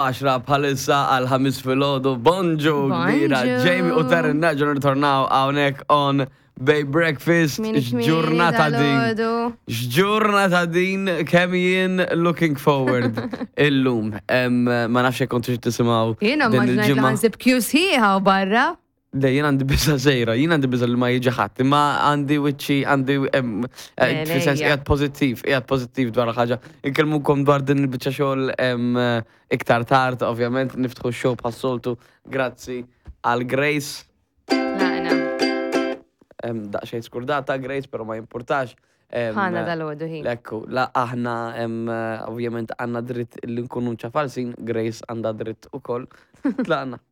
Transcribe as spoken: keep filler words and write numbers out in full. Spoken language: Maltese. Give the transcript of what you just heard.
Għaxra bħalissa għal ħames filgħodu. Bonġu kbira. Bonġu. Jamie u Taryn nerġgħu nirtornaw hawnhekk on Bay Breakfast. Kmieni kmieni X'ġurnata din. dal-għodu. X'ġurnata din, kemm jien looking forward illum. Em, Ma nafx jekk kontux tisimgħu Jiena din immaġinajt li il-ġimgħa. ħa nsib queue sħiħa u barra. Le, jien għandi biża' żgħira, jien għandi biża' li ma jiġi ħadd, imma għandi wiċċi, għandi, em, eh, Le, fis-sens lejja. qiegħed pożittiv, qiegħed pożittiv dwar ħaġa. Inkellmukom dwar din il-biċċa xogħol em, iktar tard, ovvjament niftħu x-show bħas-soltu, grazzi għal Grace. Laqna. Em, Daqsxejn skurdata Grace, però ma jimpurtax. Em, Ħana dal-għodu ħin. Ekku, la aħna em, ovvjament għandna dritt li nkunu ċafalsin, Grace għandha dritt ukoll. Tlaqna.